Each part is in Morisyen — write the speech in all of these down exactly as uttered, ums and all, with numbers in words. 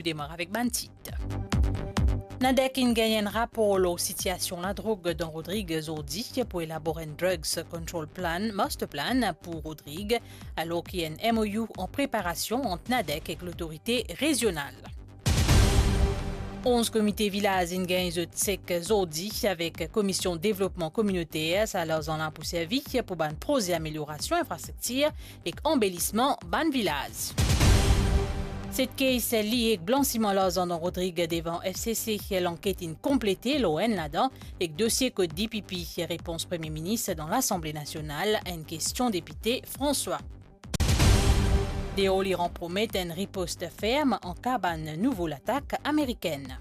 Nou demar avek bann tit. NADEC inn gagn enn rapor lor sitiasion ladrog dan Rodrig zordi pou elabor enn Drugs Control Plan, Master Plan pou Rodrig, alor ki enn M O U an preparasion ant NADEC ek lotorite rezional. Onz komite vilaz inn gagn zot sek zordi avek Komisyon Devlopman Kominoter. Sa larzan la pou servi pou bann proze ameliorasion infrastriktir ek anbelisman bann vilaz. Set case liye ek blansiman larzan dan Rodrig devan F C C, lanket inn konplete lor enn ladan, ek dosie kot D P P, repons Premie Minis dan Lasanble Nasional a enn kestion depite François. Deor Iran promet enn ripost ferm an ka bann nouvo latak amerikenn.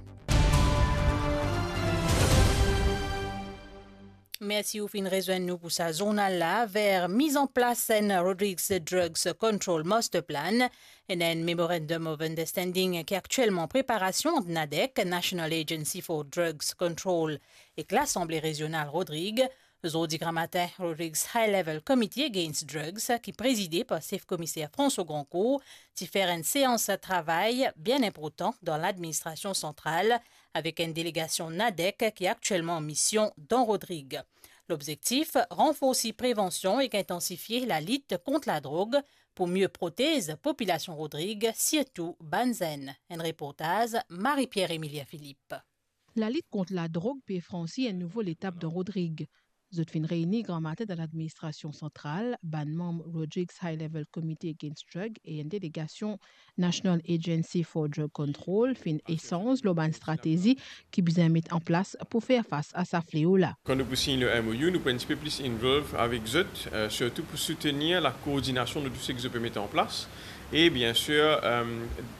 Mersi ou finn rezwenn nou pou sa zournal la. Ver miz an plas enn Rodrigues Drugs Control Master Plan, enn Memorandum of Understanding ki aktielman preparasion ant NADEC, National Agency for Drugs Control, ek Lasanble Rezional Rodrig. Zordi gramatin, Rodrigues High Level Committee Against Drugs, ki prezide par sef komiser François Grandcourt, ti fer enn seans travay bien inportan dan ladministrasion santral, avek enn delegasion NADEC ki aktielman an mision dan Rodrig. Lobzektif, ranforsi prevansion ek intansifie lalit kont ladrog pou mie protez popilasion Rodrig, sirtou bann zenn. Enn reportaz Marie-Pierre Emilien Philippe. Lalit kont ladrog pe fransi enn nouvo letap dan Rodrig. Zot finn reyni gramatin dan ladministrasion santral, bann manm Rodrigues High Level Committee Against Drug e enn delegasion National Agency for Drug Control finn esanz lor bann stratezi ki bizin met an plas pou fer fas a sa fleo la. Kan nou pou sign le M O U, nou pou enn tipe plis involve avek zot, eh, sirtou pou soutenir lakoordinasion de tou seki zot pe met an plas. E bien sir, eh,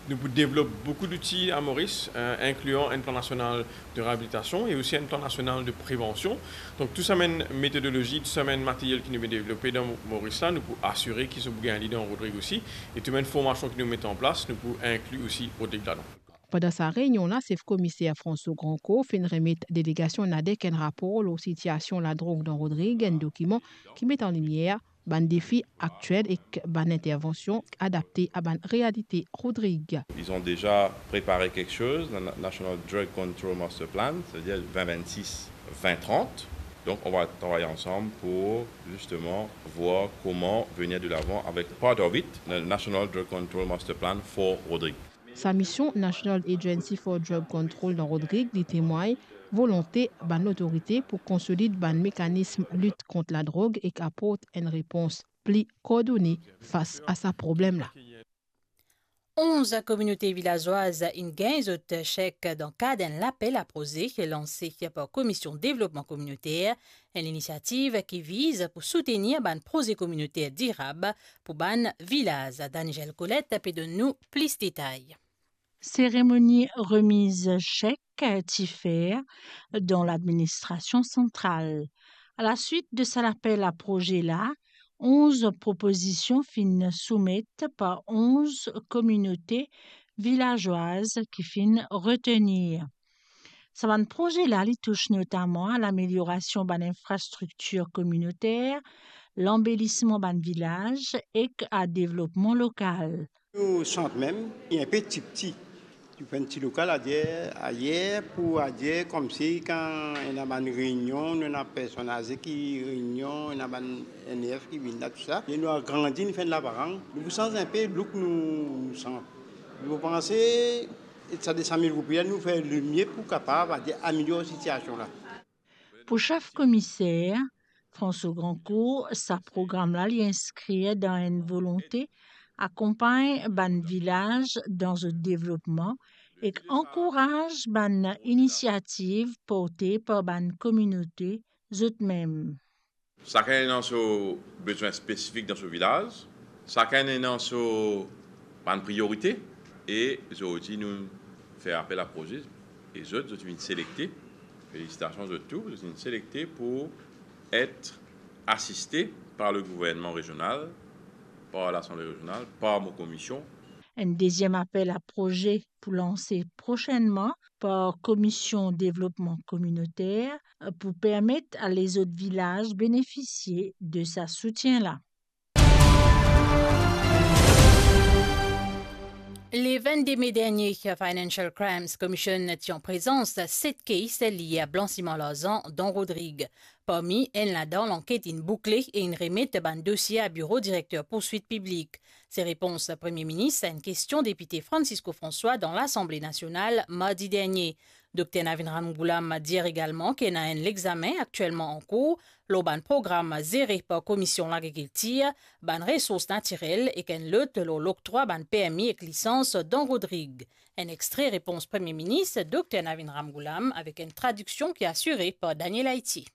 nou pou devlop boukou zouti a Moris, eh, inklian enn plan nasional de reabilitasion e osi enn plan nasional de prevansion. Donk, tou sa bann metodolozi, tou sa bann materyel ki nou pe devlope dan Moris la, nou pou asire ki zot pou gagn li dan Rodrig osi. E tou bann formasion ki nou met an plas, nou pou inkli osi Rodrig ladan. Pandan sa reynion la, sef komiser François Grandcourt finn remet delegasion NADEC enn rapor lor sitiasion ladrog dan Rodrig, enn dokiman ki met an limier bann defi aktiel ek bann intervansion adapte a bann realite Rodrig. Ils ont déjà préparé quelque chose, le Na-, National Drug Control Master Plan, c'est-à-dire vingt vingt-six, vingt trente. Donc, on va travailler ensemble pour justement voir comment venir de l'avant avec part of it, le National Drug Control Master Plan for Rodrig. Sa mision National Agency for Drug Control dan Rodrig, li temwagn volonte bann lotorite pou konsolid bann mekanism lit kont ladrog ek aport enn repons pli koordone fas a sa problem la. Onz kominote vilazwaz inn gagn zot sek dan kad enn lapel a proze lanse par Komisyon Devlopman Kominoter, enn linisiativ ki viz pou soutenir bann proze kominoter dirab pou bann vilaz. Danijel Colette pe donn nou plis detay. Seremoni remiz sek ti fer dan ladministrasion santral. A la swit de sa lapel a proze la, onz propozision finn soumet par onz kominote vilazwaz ki finn retenir. Sa bann proze la, li tous notaman a lameliorasion bann infrastriktir kominoter, lanbelisman bann vilaz ek a devlopman lokal. Nou sant mem, li inpe tipti. Li pou enn ti lokal ayer, ayer pou ayer, koumsi kan ena bann reynion, nou ena personn aze ki reynion, ena bann N F ki vinn la, tousala. E nou agrandi, nou fer enn labarang. Nou pou sanz inpe look nou, nou sant. Nou panse sa de san mil roupi la, nou fer lemie pou kapav, adir, amelior sitiasion la. Pou sef komiser, François Grandcourt, sa program la, li inskrir dan enn volonte akonpagn bann vilaz dan zot devlopman ek ankouraz bann inisiativ porte par bann kominote zot mem. Sakenn ena so bezwin spesifik dan so vilaz, sakenn ena so bann priyorite, e zordi nou fer apel a proze, e zot, zot vinn selekte. Felisitasion zot tou, zot vinn selekte pou et asiste par le gouvernman rezional, par Lasanble Rezional, par mo komisyon. Enn deziem apel a proze pou lanse prosennman par Komisyon Devlopman Kominoter pou permet a lezot vilaz benefisie de sa soutien la. Le vennde me dernie, Financial Crimes Commission ti an prezans set case lie a blansiman larzan dan Rodrig. Parmi enn ladan, lanket inn boukle e inn remet bann dosie a Biro Direkter Pourswit Piblik. Se repons Premie Minis a enn kestion depite Francisco François dan Lasanble Nasional mardi dernie. Dokter Navin Ramgoolam dir egalman ki ena enn lexamen aktielman ankour lor bann program zere par Komisyon Lagrikiltir, bann resours natirel ek enn lot lor loktrwa bann permi ek lisans dan Rodrig. Enn extre repons Premie Minis, Dokter Navin Ramgoolam, avek enn tradiksion ki asire par Daniel Haiti.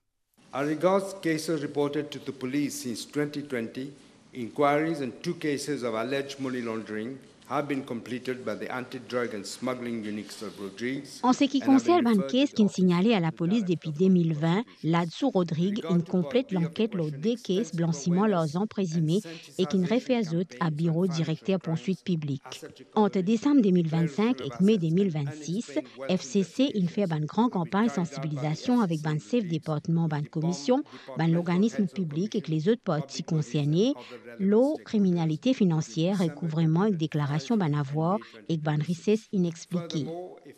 As regards cases reported to the police since twenty twenty, inquiries in two cases of alleged money laundering have been completed by the Anti-Drug and Smuggling Units of Rodrigues. An seki konsern bann kes ki'nn signale a lapolis depi de mil vin, ladsou Rodrig inn konplet lanket lor de kes blansiman larzan prezime e ki'nn refer zot a Biro Direkter Pourswit Piblik. Ant desam de mil vinn-sink ek me de mil vinn-sis, F C C inn fer bann gran kanpagn sansibilizasion avek bann sef departman, bann komisyon, bann lorganism piblik ek lezot parti konserne lor kriminalite finansier, rekouvreman ek deklarasion bann avwar ek bann rises inexplike.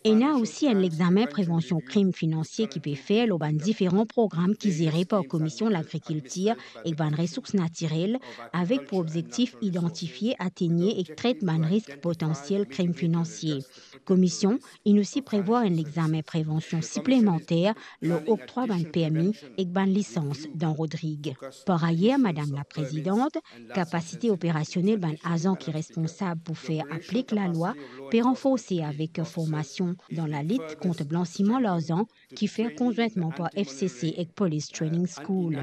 Ena osi enn lexamen prevansion krim finansie ki pe fer lor bann diferan program ki zere par Komisyon Lagrikiltir ek bann Resours Natirel, avek pou obzektif idantifie, ategne ek tret bann risk potansiel krim finansie. Komisyon inn osi prevwar enn lexamen prevansion siplemanter lor oktrwa bann permi ek bann lisans dan Rodrig. Par ayer, Madam Laprezidant, kapasite operasionel bann azan ki responsab pou fer aplik lalwa pe ranforse avek formasion dan lalit kont blansiman larzan ki fer konzwintman par F C C ek Police Training School.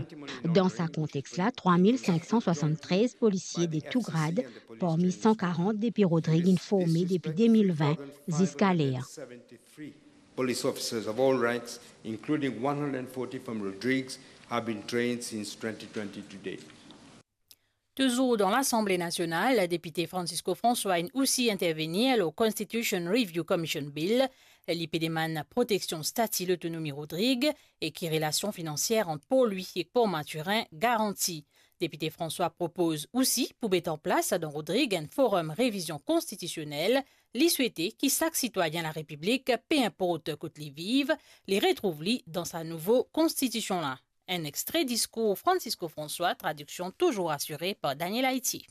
Dan sa kontex la, trwa mil sink san swasann-trez polisie de tou grad, parmi san karant depi Rodrig, inn forme depi de mil vin ziska ler. Police officers of all ranks, including one hundred forty from Rodrigues, have been trained since twenty twenty to date. Touzour dan Lasanble Nasional, depite Francisco François inn osi intervenir lor Constitution Review Commission Bill. Li pe demann proteksion stati Lotonomi Rodrig e ki relasion finansier ant Port Louis ek Port Mathurin garanti. Depite François propoz osi pou met an plas dan Rodrig enn forum revizion konstitisionel. Li swete ki sak sitwayin Larepiblik, pe inport kot li viv, li retrouv li dan sa nouvo konstitision la. Enn extre diskour Francisco François, tradiksion touzour asire par Daniel Haiti.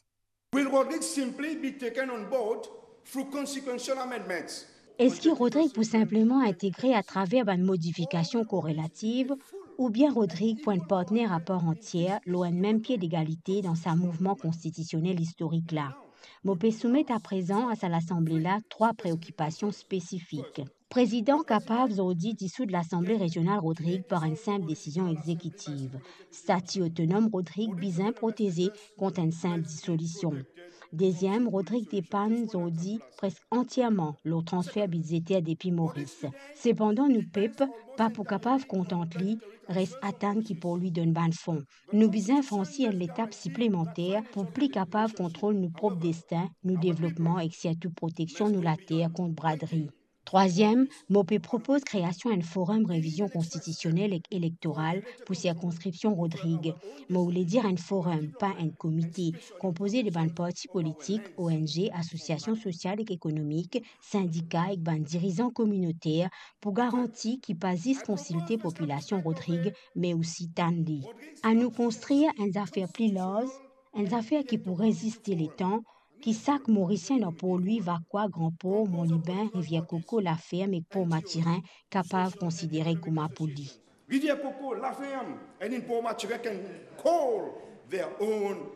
Will Rodrigues simply be taken on board through consequential amendments? Eski Rodrig pou sinpleman integre atraver bann modifikasion korelativ, oubien Rodrig pou enn partner apar antier lor enn mem pie degalite dan sa mouvman konstitisionel istorik la? Mo pe soumet aprezan a sa Lasanble la trwa preokipasion spesifik. Prezidan kapav zordi disoud Lasanble Rezional Rodrig par enn sinp desizion exekitiv. Stati otonom Rodrig bizin proteze kont enn sinp disolision. Deziem, Rodrig depann zordi preske antierman lor transfer bidzeter depi Moris. Sepandan, nou pep pa pou kapav kontant li res atann ki Port Louis donn bann fon. Nou bizin fransi enn letap siplemanter pou pli kapav kontrol nou prop destin, nou devlopman ek sirtou proteksion nou later kont bradri. Trwaziem, mo pe propoz kreasion enn forum revizion konstitisionel ek elektoral pou sirkonskripsion Rodrig. Mo oule dir enn forum, pa enn komite, konpoze de bann parti politik, O N G, asosiasion sosial ek ekonomik, sindika ek bann dirizan kominoter pou garanti ki pa zis konsilte popilasion Rodrig, me osi tann li. Anou konstrir enn zafer pli larz, enn zafer ki pou reziste letan, ki sak Morisien dan Port Louis, Vacoas, Grand Port, Mont Libin, Rivière Coco, La Ferme ek Port Mathurin kapav konsidere kouma pou li. Rivière Coco, La Ferme, and in Port Mathurin can call their own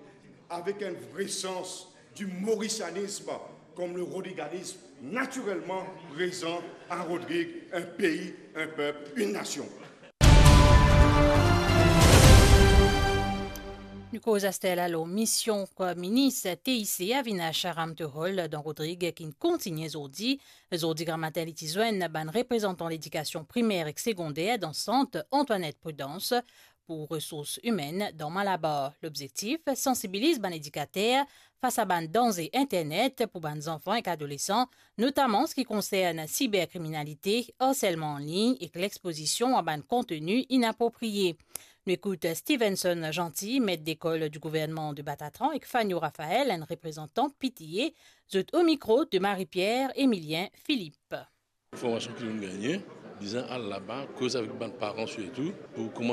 avec un vrai sens du mauricianisme, comme le rodriganisme naturellement présent à Rodrigue, un pays, un peuple, une nation. Nou koz aster la lor mision ki minis T I C Avinash Ramtehol dan Rodrig ki'nn kontigne zordi. Zordi gramatin li ti zwenn bann reprezantan ledikasion primer ek segonder dan sant Antoinette Prudence pou resours imenn dan Malabar. Lobzektif, sansibiliz bann edikater fas a bann danze internet pou bann zanfan ek adolesan, notaman seki konsern siberkriminalite, arselman anlign ek lexpozision a bann konteni inapropriye. Nou ekout Stevenson Gentil, met lekol di gouvernman de Batatran, ek Fanio Raphael, enn reprezantan P T A, zot o mikro de Marie-Pierre Emilien Philippe. Formasion ki nou'nn gagne, bizin al laba, koz avek bann paran sirtou, pou kouma